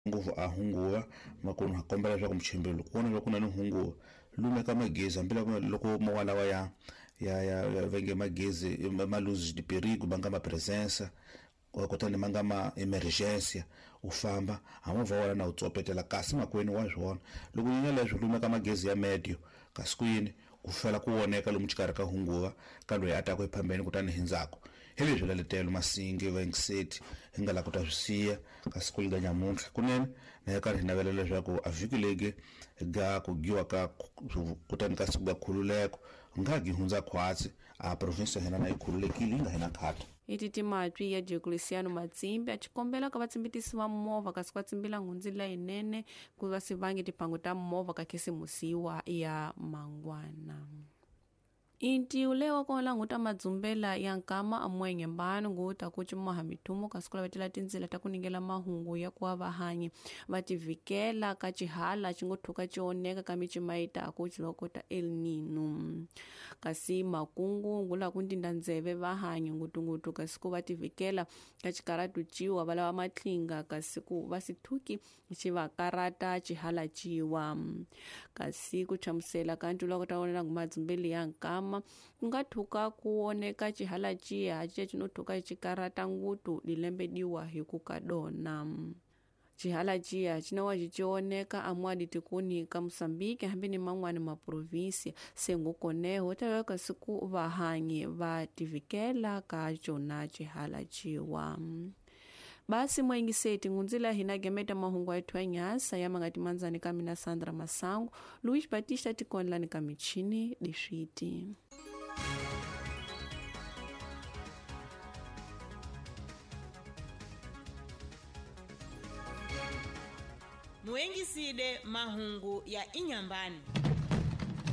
Ngopfu a hunguva makunu ha kombela leswaku muchimbeli loko vona leswaku ku na ni hunguva lumeka magezi hambiloko loko mo walawa ya ya ya va nge magezi ma luz de perigo ma nga ma presença kutani ma nga ma emergência u famba ha movha wa wena na wu tsopetela kasi makwenu wa swona loko nyanya leswi lumeka magezi ya medio kasi ku yini ku fela ku voneka lomu xikarhi ka hunguva ka loyi a taku ephambeni kutani hi ndzhaku hi leswi laletelo masingi vaingiseti hi nga la ku ta swi siya ka siku liga nyamuntlha kunene na hi karhi hi navela leswaku a vhiki legi ga ku giwa ka kutani ka siku ga khululeko nga gi hundza khwatsi a provinsi ya hina na yi khululekile yi nga hina khata. Iti timatwi ya Diocleciano Matsimbi a tshikombela ka vatsimbitisi va movha kasi va tsimbila nghundzi leyinene ku va si vangi timhangu ta movha ka khisimusiwa ya mangwana. Intiwu leyi wa kona nguta madzumbela ya nkama amwenye mbano nguta ku cimaha mithumo kasi ku lavetela tindzila ta ku ningela mahungu ya ku va vahanyi va tivikela ka xihala xi ngo thuka xi oneka ka micima yi taku xiloko ta El Nino. Kasi makungu ngula ku ndinda ndzeve vahanyi ngutungutu kasi ku va tivikela ka xikaratu ciwa va lava matlinga kasi ku va si thuki xi va karata xihala ciwa. Kasi ku hlamusela ka ntula ku ta vonela ngumadzumbeli ya nkama ku nga thuka ku oneka xihala ciya ciya xi no thuka xi karata ngutu lilembe diwa hi ku ka dona. Xihala ciya xi na wa xi oneka amwadi tikuni ka Mosambiki hambi ni man'wani ma provinsi se ngukoneho ta kasi ku vahanyi va tivikela ka cona xihala ciwa. Basi mwaingiseti ngunzila hina gemeta mahungu yetu ya nyasa ya mangati manzani ka mina Sandra Masango Luis Batista tikonlani ka michini diswiti. Muengiside mahungu ya Inyambani.